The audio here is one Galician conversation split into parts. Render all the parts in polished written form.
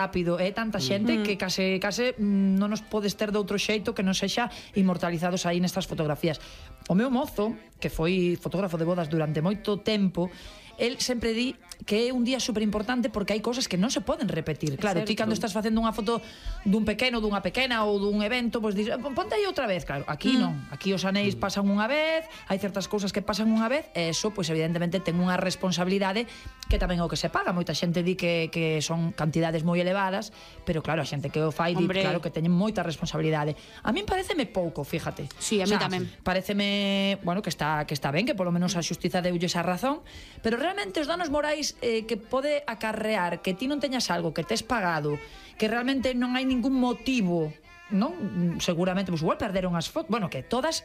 rápido, tanta xente que case non nos podes ter de outro xeito que non sexa inmortalizados aí nestas fotografías. O meu mozo, que foi fotógrafo de bodas durante moito tempo, el sempre di que é un día super importante porque hai cousas que non se poden repetir. Claro, ti cando estás facendo unha foto dun pequeno, dunha pequena ou dun evento, pois dices, ponte aí outra vez. Claro, aquí non. Aquí os anéis pasan unha vez, hai certas cousas que pasan unha vez, e eso, pois evidentemente, ten unha responsabilidade que tamén é o que se paga. Moita xente di que son cantidades moi elevadas, pero claro, a xente que o fai di, claro, que teñen moita responsabilidade. A min pareceme pouco, fíjate. Sí, a mí tamén. Pareceme, bueno, que está ben, que polo menos a xustiza deulle esa razón, pero realmente os danos morais que pode acarrear que ti non teñas algo que tes pagado, que realmente non hai ningún motivo, non? Seguramente, pues igual perderon as fotos, bueno, que todas,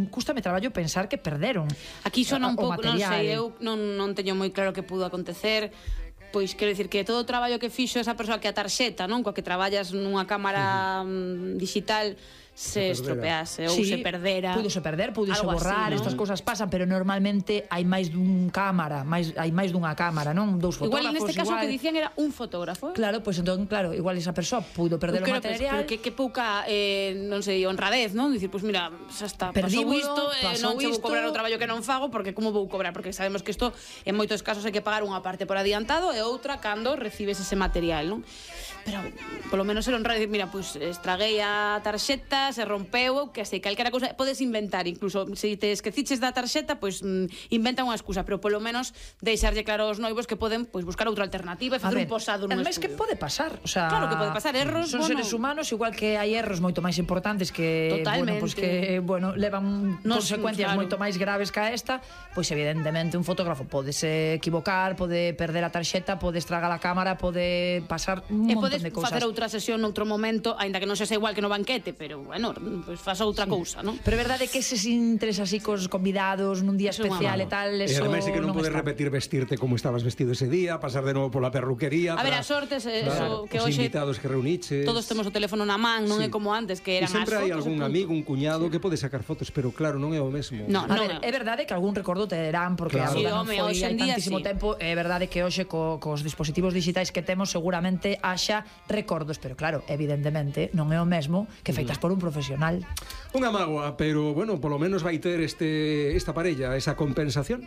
cústame traballo pensar que perderon. Aquí sona un pouco, non sei, eu non teño moi claro que pudo acontecer. Pois quero dicir que todo o traballo que fixo esa persoa, que a tarxeta, non, coa que traballas nunha cámara digital, se estropease ou se perdera. Pudose perder, pudose borrar, estas cousas pasan, pero normalmente hai máis dun cámara, hai máis dunha cámara, non? Dous fotógrafos. Igual neste caso que dicían era un fotógrafo. Claro, pois entón, claro, igual esa persoa pudo perder o material. Pero que pouca, non sei, honradez, non? Dicir, pois mira, xa está, pasou isto, non che vou cobrar o traballo que non fago, porque como vou cobrar? Porque sabemos que isto, en moitos casos, hai que pagar unha parte por adiantado e outra cando recibes ese material, non? Pero, polo menos ser honrado, dicir, mira, pois estraguei a tarxeta, se rompeu, que sei, calquera cousa, podes inventar, incluso se te esqueciches da tarxeta, pois inventa unha excusa, pero polo menos deixarlle claro aos noivos que poden pois buscar outra alternativa e facer un posado nun estudio. Ademais que pode pasar, o sea, claro que pode pasar, erros, son seres humanos, igual que hai erros moito máis importantes que, bueno, pois que, bueno, levan consecuencias moito máis graves que esta, pois evidentemente un fotógrafo pode se equivocar, pode perder a tarxeta, pode estragar a cámara, pode pasar un montón de cousas. E podes facer outra sesión noutro momento, aínda que non sexa igual que no banquete, pero, bueno, pois faz outra cousa, non? Pero é verdade que eses interés así cos convidados nun día especial e tal, eso non está. E ademais que non podes repetir vestirte como estabas vestido ese día, pasar de novo pola perruquería. A ver, a sortes, eso que hoxe os invitados que reuniches. Todos temos o teléfono na man, non é como antes que eran as fotos. E sempre hai algún amigo, un cuñado que pode sacar fotos, pero claro, non é o mesmo. A ver, é verdade que algún recordo te derán, porque a boda non foi hai tantísimo tempo, é verdade que hoxe cos dispositivos digitais que temos seguramente haxa recordos, pero claro, evidentemente non é o mesmo que feitas por un profesional. Unha mágoa, pero bueno, polo menos vai ter esta parella esa compensación.